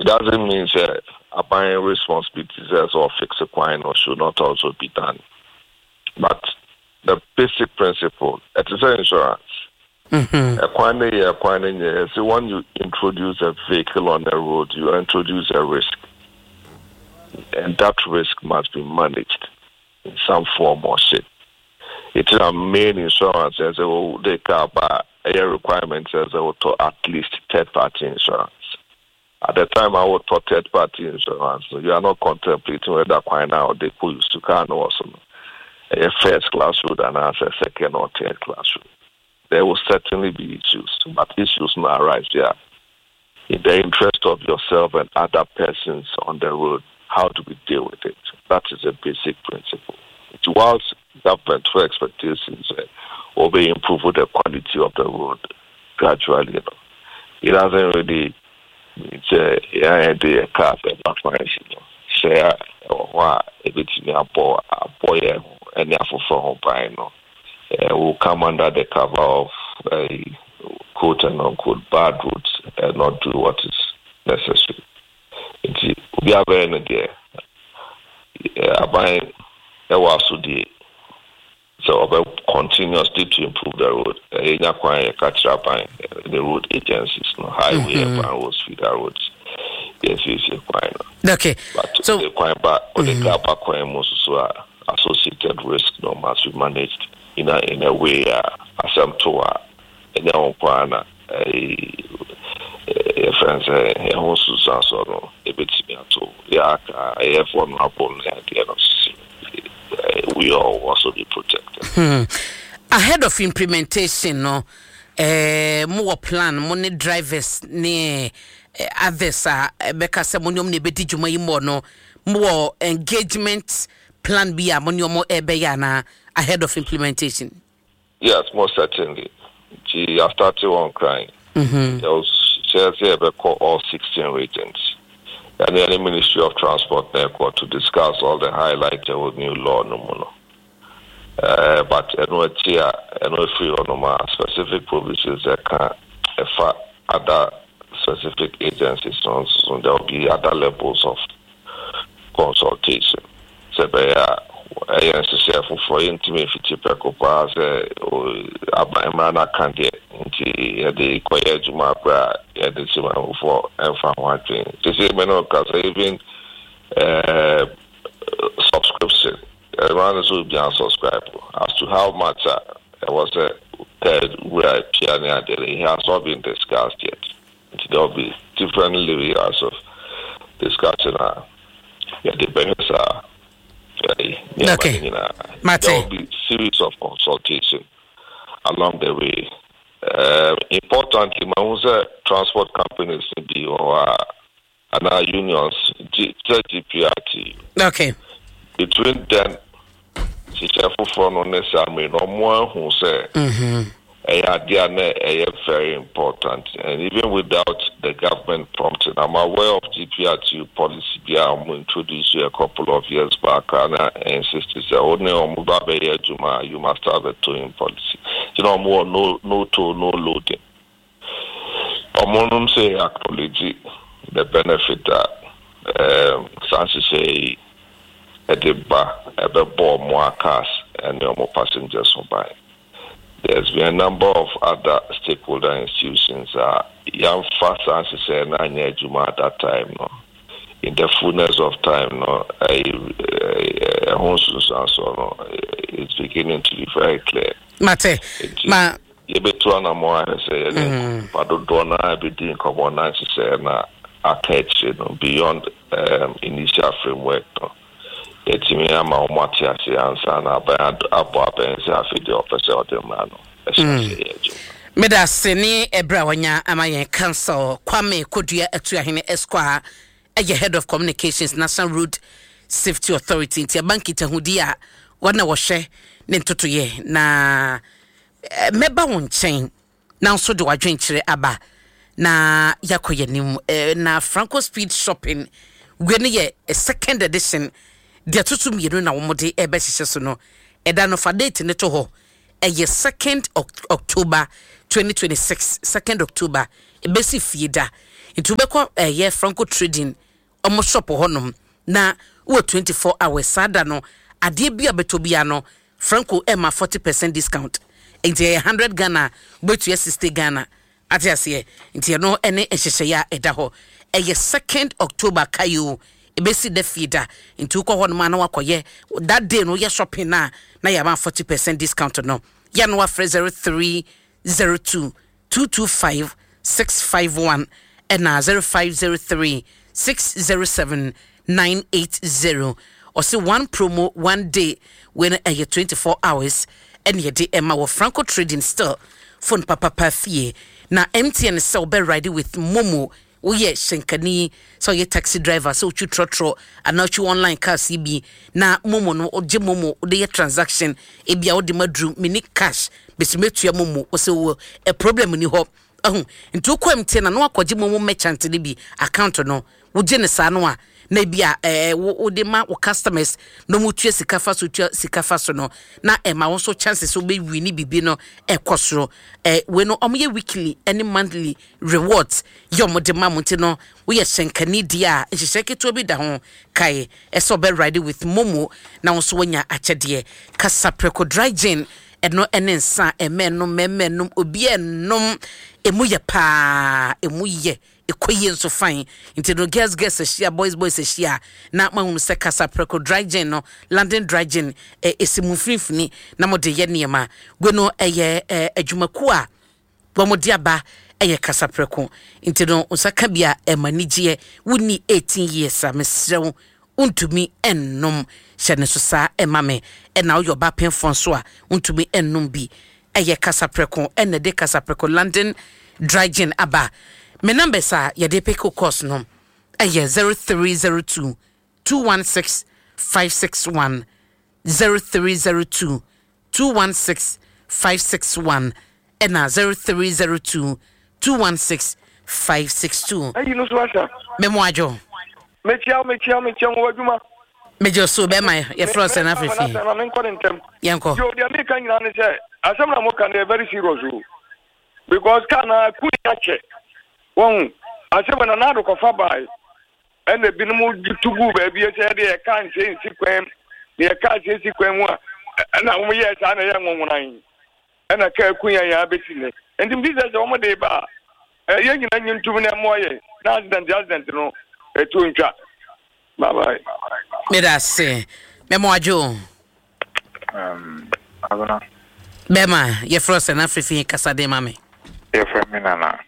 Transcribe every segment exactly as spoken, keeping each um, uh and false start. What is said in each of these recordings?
It doesn't mean sɛ aban responsibilities as or fix kwan no should not also be done, but the basic principle, ɛte sɛ insurance. Ɛkwan no yɛ ɛkwan no nyɛ sɛ when you introduce a vehicle on the road, you introduce a risk, and that risk must be managed in some form or shape. It's a main insurance as a they car but a requirement says they will at least third party insurance. At the time I would third party insurance, you are not contemplating whether kwan now they put you to car no also a first class road and as a second or third class road. There will certainly be issues, but issues not arise here. In the interest of yourself and other persons on the road, how do we deal with it? That is a basic principle. It's whilst government for expectations uh, will be improve the quality of the road gradually. You know. It doesn't really mean sɛ yɛn de car sɛ ɛba kwan si no sɛ ɛwɔ hɔ a ebetumi abɔ abɔ yɛn ho ɛne afoforɔ ho ban no uh, will come under the cover of uh, quote and unquote bad roads and not do what is necessary. Nti obi abɛyɛ no deɛ, aban ɛwɔ asodie sɛ ɔbɛ continuously to improve the road. Ɛyɛ kwan yɛka kyerɛ aban, the road agencies no, highway mm -hmm. urban roads, feeder roads, yɛnsiesie kwan no. Okay but so the kwan ba ɔde kaa ba kwan mu nso so a, associated risk no must be managed in a in a way a asɛm to a ɛnyɛ wɔn kwan na yɛfrɛ no sɛ ɛho nsunsuansoɔ no ebɛtumi ato yɛaka ɛyɛ vulnerable no adeɛ no, we all also be protected. Hmm. Ahead of implementation no, eh, mo wɔ plan mo ne drivers ne eh, others a ɛbɛka sɛ mo ne ɔmo na ebɛdi dwuma yi mu no, mo wɔ engagement plan bi a mo ne ɔmo ɛbɛyɛ anaa ahead of implementation? Yes, most certainly. Nti I started one crying. Mm-hmm. There was sɛ yɛbɛkɔ all sixteen regions and the Ministry of Transport na to discuss all the highlights of new law no mu no. Uh, but ɛno akyi a ɛno afiri hɔ nom a, specific provisions ɛka ɛfa other specific agencies no nso, there will be other levels of consultation sɛ ɛbɛyɛ a ɛyɛ nhyehyɛ foforɔ, yɛntumi mfiti prɛko paa sɛ aba mmara no aka deɛ nti yɛde kɔyɛ adwuma berɛ a yɛde simanfoɔ ɛmfa ho adwene. Sɛ sɛ me no ka sɛ even uh, subscription mmara no sɛ obiara subscribe, as to how much a ɛwɔ sɛ wura pia ne adeɛ no, it has not been discussed yet. Nti there will be different layers of discussion a yɛde bɛhwɛ saa. Okay. Mate. There will be series of consultation along the way. Uh, importantly, ma sɛ transport companies bi wɔ hɔ a anaa unions, G, sɛ G P R T. Okay. Between then hyehyɛ foforɔ no ne saa mmiri no, ɔmo ahu sɛ ɛyɛ adeɛ a na ɛyɛ very important, and even without the government prompting, I'm aware of G P R T policy bi a ɔmo introduce a couple of years back a na insist sɛ ɔne ɔmo ba bɛyɛ adwuma a, you must have a towing policy. Nti na ɔmo wɔ no no tow, no loading. Ɔmo nom sɛ acknowledge the benefit a um, saa nhyehyɛ yi ɛde ba, ɛbɛbɔ ɔmo cars ɛne ɔmo passengers ho ban. There's been a number of other stakeholder institutions a yɛamfa saa nhyehyɛ no anyɛ adwuma at that time no, in the fullness of time no, ɛho nsunsuansoɔ no is beginning to be very clear. Mate. Ma yɛbɛtu anammɔ ahwɛ sɛ yɛne nipa dodoɔ no a bɛdi nkɔmmɔ na nhyehyɛ na aka akyire no beyond um, initial framework no, yɛtumi ama wɔn ate ase ansa na aban abɔ abɛn sɛ afei deɛ ɔpɛ sɛ ɔde mmara no ɛhyɛ ase yɛ adwuma. Meda ase ne ɛberɛ a wanya ama yɛn. Counsel Kwame Kodua Atuahene Esquire ɛyɛ Head of Communications, National Road Safety Authority. Nti ɛba nkitahodi a wɔn na wɔhwɛ ne ntotoyɛ na eh, mɛba wo nkyɛn na nso de wadwenkyerɛ aba na yɛakɔ yɛn anim. eh, na Franco Speed Shopping wei no yɛ eh, second edition deɛ ɛto mmienu na wɔde ɛbɛhyehyɛ so no. Ɛda no fa date ne to hɔ, ɛyɛ second October twenty twenty-six, second October, ɛbɛsi fie da. Nti wobɛkɔ ɛyɛ Franco Trading ɔmo shop hɔnom na wɔ twenty-four hours saa da no, adeɛ bi a bɛtɔ bia no, Franco ɛma forty percent discount. Nti ɛyɛ hundred Ghana, wobɛtua sixty Ghana. Ate aseɛ? Nti ɛno ɛne nhyehyɛeɛ a ɛda hɔ. Ɛyɛ second October kayo ɛbɛsi da fie da. Nti wokɔ hɔ nom a na wakɔyɛ that day no, woyɛ shopping na na yɛama forty percent discount no. Yɛ no wafrɛ zero three zero two two two five six five one ɛna zero five zero three six zero seven nine eight zero. Ɔsi one promo, one day. Wei no ɛyɛ twenty four hours ɛna yɛde ɛma wɔ Franco Trading. Still phone papapa fie na M T N sɛ wobɛ ride with MoMo. Woyɛ hyɛnkani, sɛ ɔyɛ taxi driver, sɛ wotwi trɔtrɔ anaa wotwi online cars yi bi na MoMo no, wogye MoMo wode yɛ transaction. Ebia wode ma duru mini cash bɛsi mɛtua MoMo, wɔsɛ wɔ ɛ problem ni hɔ ɛho. Nti wokɔ M T N na na wakɔgye MoMo merchant no bi account no, wogye ne saa no a, na ebi a ɛɛ wo wode ma wo customers na wɔn tua sika fa so, tua sika fa so no, na ɛma wɔn nso chances wobɛwi ne bibi no ɛkɔ soro. ɛɛ wei no, wɔn yɛ weekly ɛne monthly rewards yɛ wɔn de ma mo. Nti no woyɛ hyɛnkani deɛ a, nhyehyɛ ketewa bi da ho kae ɛsɛ ɔbɛ ride with MoMo na wɔn nso wɔnya akyɛdeɛ. Kasaprɛko dry gin, ɛno ɛne nsa ɛmɛ nom, mɛmɛ nom, obi ɛnom emu yɛ paa, emu yɛ ɛkɔ yie nso fine. Nti no girls girls ahyia, boys boys ahyia na mahunu sɛ Kasaprɛko dry gin no, London dry gin, ɛ ɛsi mu mfimfini na mode yɛ nneɛma gwe no. Ɛyɛ ɛ adwumakuo a wɔn de aba ɛyɛ Kasaprɛko. Nti no nsa ka bi a ɛma anigyeɛ. Wonni eighteen years a, mesrɛ wo, wontumi ɛnnom. Hyɛ ne so saa ɛma me. Ɛna woyɛ ɔba pɛnfoɔ nso a, wontumi ɛnnom bi. Ɛyɛ Kasaprɛko ɛna de Kasaprɛko London dry gin aba. Me numbers a yɛde pick calls no ɛyɛ zero three zero two two one six five six one, zero three zero two two one six five six one ɛna zero three zero two two one six five six two. Ayi no so asa. Memo adwo. Mekyia wo, mekyia wo, mekyia wo adwuma. Megye so, bɛma yɛfrɛ sɛ no afefi. Na menkɔ ne ntɛm. Yɛnkɔ. Yo, deɛ meka nyinaa ne sɛ asɛm na moka no yɛ very serious o, because car na ku akyɛ wɔn asɛm na naado kɔfa bae, ɛna ebinom tu gu baabi sɛ yɛde yɛ kaa nse nsi kwan mu na yɛ kaa nse nsi kwan mu a, ɛna wɔn yɛ saa na yɛ nwonwonan, ɛna kaa ku yɛn yɛn abɛsi nnɛ. Nti mi sɛ sɛ wɔn de ba a, ɛyɛ nyina nyi ntum na ɛmoa yɛn na accident accident no etu ntwa. Bye bye. Meda ase, memo adwo. Um, Abena. Bɛma yɛfrɛ sɛ no afefi, kasa de ma me. Yɛfrɛ me Nana.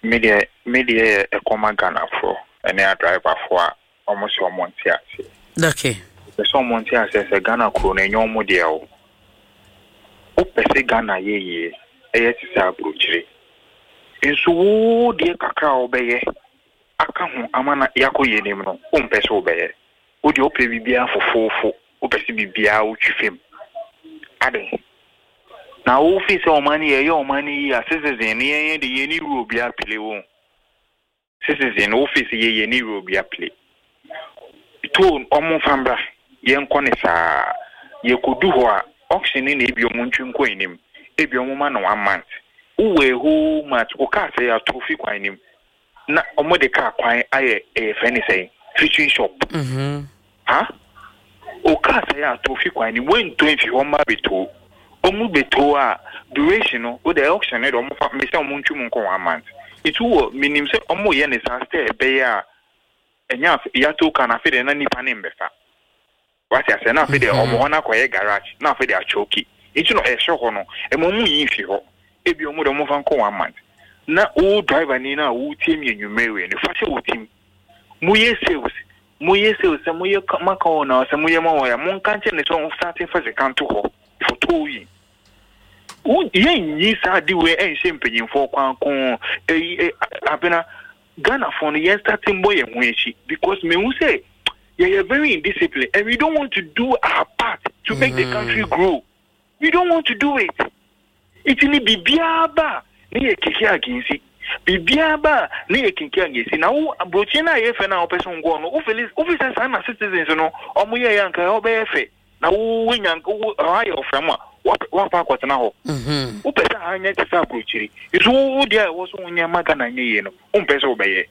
Me deɛ me deɛ yɛ ɛkɔma Ghanafoɔ ɛne adriverfoɔ a ɔmo sɛ ɔmo nte aseɛ. Okay pɛ sɛ ɔmo nte aseɛ sɛ Ghana kuro no, ɛnyɛ ɔmo deɛ o. Wopɛ sɛ Ghana yɛ yie, ɛyɛ te sɛ aburokyire nso, wo deɛ kakra a wobɛyɛ aka ho ama na yɛakɔ yɛ anim no, wompɛ sɛ wobɛyɛ. Wo deɛ, wopɛ biribiara fofoofo, wopɛ sɛ biribiara wotwi fam ade na wofi sɛ ɔman no yɛyɛ ɔman no yie a, citizen no yɛnyɛ de yɛni role bi aplay wo citizen no. Wofi sɛ yɛyɛ ni role bi aplay toll, ɔmo mfa mbra, yɛnkɔ ne saa. Yɛkɔdu hɔ a, auction no na ebi ɔmo ntwi nkɔ anim, ebi ɔmo ma no one month. Wowɔ a whole month, wo kaa sɛ yɛato fi kwan nim na ɔmo de kaa kwan ayɛ ɛyɛ fɛ ne sɛn fishing shop. Mhm. Ha o, kaa sɛ yɛato fi kwan nim, wɔntɔ mfi hɔ mma bɛtoo, ɔmo bɛtoo a, duration no o de auction no de ɔmo fa mbɛsɛ ɔmo ntwi mu nkɔ one month. Etu wɔ minim sɛ ɔmo yɛ ne saa sɛ ɛbɛyɛ a ɛnyɛ afe yɛato kaa na afei de na nipa ne mbɛfa wate asɛ, na afei de ɔmo hɔ no akɔyɛ garage, na afei de atwɔki. Nti no ɛhyɛ hɔ no, ɛma ɔmo nyi fi hɔ. Ebi ɔmo de ɔmo fa nkɔ one month na wo driver ni na wotie mi anwummerɛ wei no, fa hyɛ wo tim. Moyɛ sales, moyɛ sales sɛ moyɛ maka wɔn na sɛ moyɛ ma wɔn ya, monka nkyɛn ne sɛ ɔmo start fa sika nto hɔ for towing. Yɛnyi saa ade wei ɛnhyɛ mpanyinfoɔ kwan ko. Ɛyi ɛ Abena, Ghanafoɔ no, yɛn start mbɔ yɛn ho akyi because mehu sɛ yɛyɛ very indisciplined and we don't want to do our part to make mm. the country grow. We don't want to do it. Nti ni biribiara ba ne yɛ keke agensi, biribiara ba ne yɛ keke agensi. Na wo aburokyi no a yɛ fɛ no a wɔpɛ sɛ nkɔɔ no, wofili wofi sɛ saa na citizens no ɔmo yɛ yɛ anka ɛhɔ bɛyɛ fɛ na wo wonya wo ɛhɔ ayɛ ɔfra mu a Wakɔ akɔtena hɔ. Wopɛ sɛ ha nyɛ te sɛ aburokyiri, nso wo deɛ a ɛwɔ so wonyɛ ma Ghana nyɛ yie no, wompɛ sɛ wobɛyɛ.